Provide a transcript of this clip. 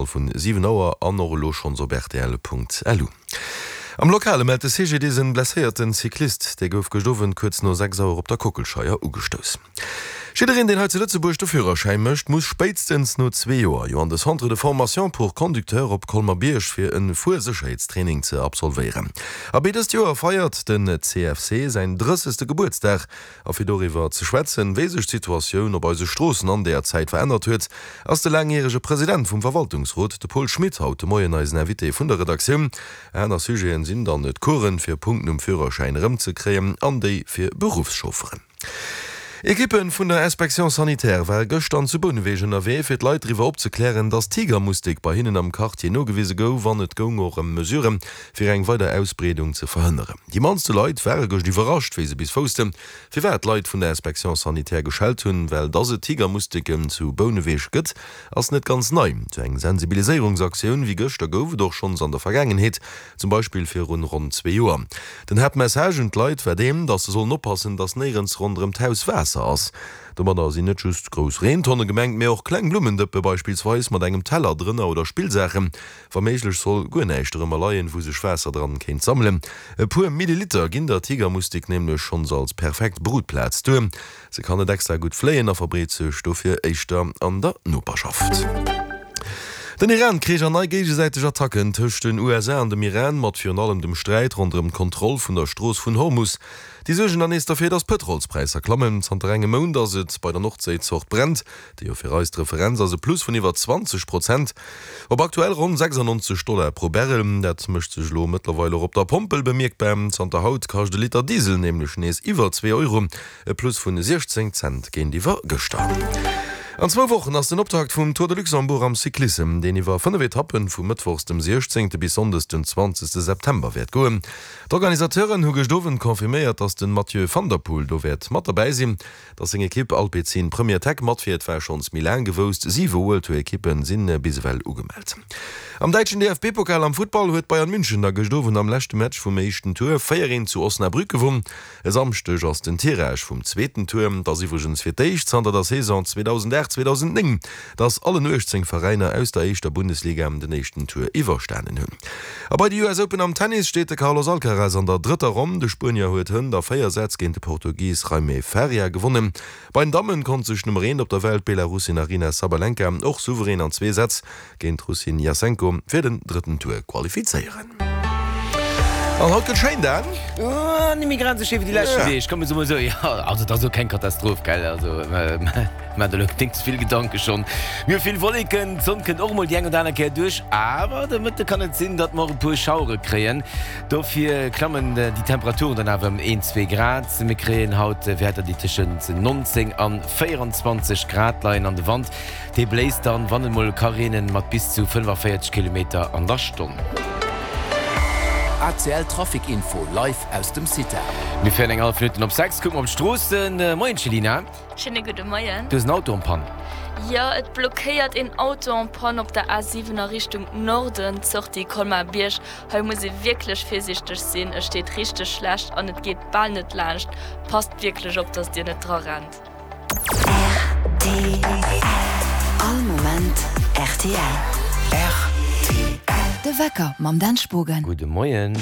Vun 7 Auer an och elo schonns op rtl.lu. Am Lokale mellt de CGDIS en blesséierten Cyclist. Dee gouf gëscht Owend kuerz no 6 Auer op der Kockelscheier ugestouss. Jiddereen, deen hei zu Lëtzebuerg de Führerschäi mécht, muss spéitstens no zwee Joer jo an de Centre de formation pour conducteurs op Colmer-Bierg fir e Fuersécherheetstraining ze absolvéieren. Abee, dëst Joer feiert den CFC säin drëssegste Gebuertsdag. A fir doriwwer ze schwätzen, wéi sech d'Situatioun op eise Stroossen an deeër Zäit verännert huet, ass de laangjärege President vum Verwaltungsrot, de Paul Schmit, haut de Moien eisen Invité vun der Redaktioun. Aner Sujeten sinn dann d'Coursen, fir Punkten um Führerschäin erëmzekréien, an déi fir Beruffschaufferen. Ekippe vun der Inspection sanitaire ware gëschter zu Bouneweg ënnerwee, fir d'Leit driwwer opzeklären, dass d'Tigermustik bei hinnen am Quartier nogewise gouf an et goung och ëm Mesuren, fir eng weider Ausbreedung ze verhënneren. Déi mannste Leit ware gëscht iwwerrascht, wéi se bis woussten, firwat d'Leit vun der Inspection sanitaire geschellt hunn. Well dass et Tigermusteken zu Bouneweg gëtt, ass net ganz nei. Sou eng Sensibiliséierungsaktioun wéi gëschter gouf et och schonns an der Vergaangenheet, zum Beispill virun ronn zwee Joer. Den Haaptmessage un d'Leit war deen, dass se sollen oppassen, dass néierens ronderëm d'Haus Waasser ass. Domadder sinn net just grouss Reentonne gemengt, mee och kleng Blummendëppe beispillsweis mat engem Teller drënner oder Spillsaachen. Wa méiglech soll guer näischt dorëmmer leien, wou sech Waasser dran kéint sammelen. E puer Milliliter ginn der Tigermustik nämlech schonns als perfekt Brutplaz duer. Se kann net extra gutt fléien a verbreet sech dofir éischter an der Noperschaft. Den Iran-Krich an nei géigesäiteg Attacken tëscht den USA an dem Iran, mat virun allem dem Sträit ronderëm d'Kontroll vun der Strooss vun Hormus, déi suergen dann nees derfir, datt d'Pëtrolspräisser klammen. Zanter engem Mount ass et bei der Nordséizort Brent déi jo fir eis d'Referenz ass, e Plus vun iwwer 20 Prozent op aktuell ronn 96 Dollar pro Barrel. Dat mécht sech elo mëttlerweil och op der Pompel bemierkbar. Zanter haut kascht e Liter Diesel nämlech nees iwwer zwee Euro, e Plus vun 16 Cent géintiwwer gëschter. An zwou Wochen ass den Optakt vum Tour de Luxembourg am Cyclissem, deen iwwer 5 Etappen vu mëttwochs dem 16. bis sonndes den 20. September wäert goen. D'Organisateuren hu gëscht Owend confirméiert, datt de Mathieu van der Poel do wäert mat derbäi sinn. Dass seng Ekipp Alpecin Premier Tech matfiert, war schonns méi laang gewousst. Siwe World Tour Ekippe si bis ewell ugemellt. Am däitschen DFB-Pokal am Futtball huet Bayern München da gëscht Owend am leschte Match vum éischten Tour 4, 1 zu Osnabrück gewonn. E Samschdeg ass den Tirage vum zweeten Tour. Et ass iwwregens fir d'éischt zanter der Saison 2008, 2009, dass allen 18 Veräiner aus der éischter Bundesliga den éischten Tour iwwerstanen hunn. A bei de US Open am Tennis steet de Carlos Alcaraz an der drëtter Ronn. De Spuenier huet hënt a 4 Sätz géint de Portugis Jaime Faria gewonnen. Bei den Dammen konnt sech d'Nummer eent op der Welt, d'Belarussin Aryna Sabalenka, och souverän an zwee Sätz géint d'Russin Jasenko fir den drëtten Tour qualifizéieren. An haut gëtt schéin, Dan? Net méi grad esou schéi wéi déi leschten Deeg, komm mir soe mol esou. Jo, also et ass elo keng Katastroph, gell, also Maach der elo déck ze vill Gedanke schonn. Mir hu vill Wolleken, d'Sonn kënnt och emol déi eng oder aner Kéier duerch, awer de Mëtte kann et sinn, datt mer och e puer Schauere kréien. Dofir klammen déi Temperaturen dann awer ëm een, zwee Grad. Mir kréien haut Wäerter, déi tëschent 19 an 24 Grad leien an de Wand, dee bléist dann, wann et mol ka reenen, mat bis zu 45 Kilometer an der Stonn. ACL Trafic Info live aus dem CITA. Mir féieren eng hallef Minutten op 6, kucke mer op d'Stroossen. Moien Céline. Schéine gudde Moien. Du hues en Auto en panne? Jo, et blockéiert een Auto en panne op der A7 a Richtung Norden, Sortie Colmar-Bierg. Hei muss ee wierklech virsiichteg sinn, et steet richteg schlecht an et geet bal net laanscht. Passt wierklech op, dass dir net dra rennt. Rtl. All Moment rtl. Rtl. De Wecker mam Dan Spogen. Gudde Moien.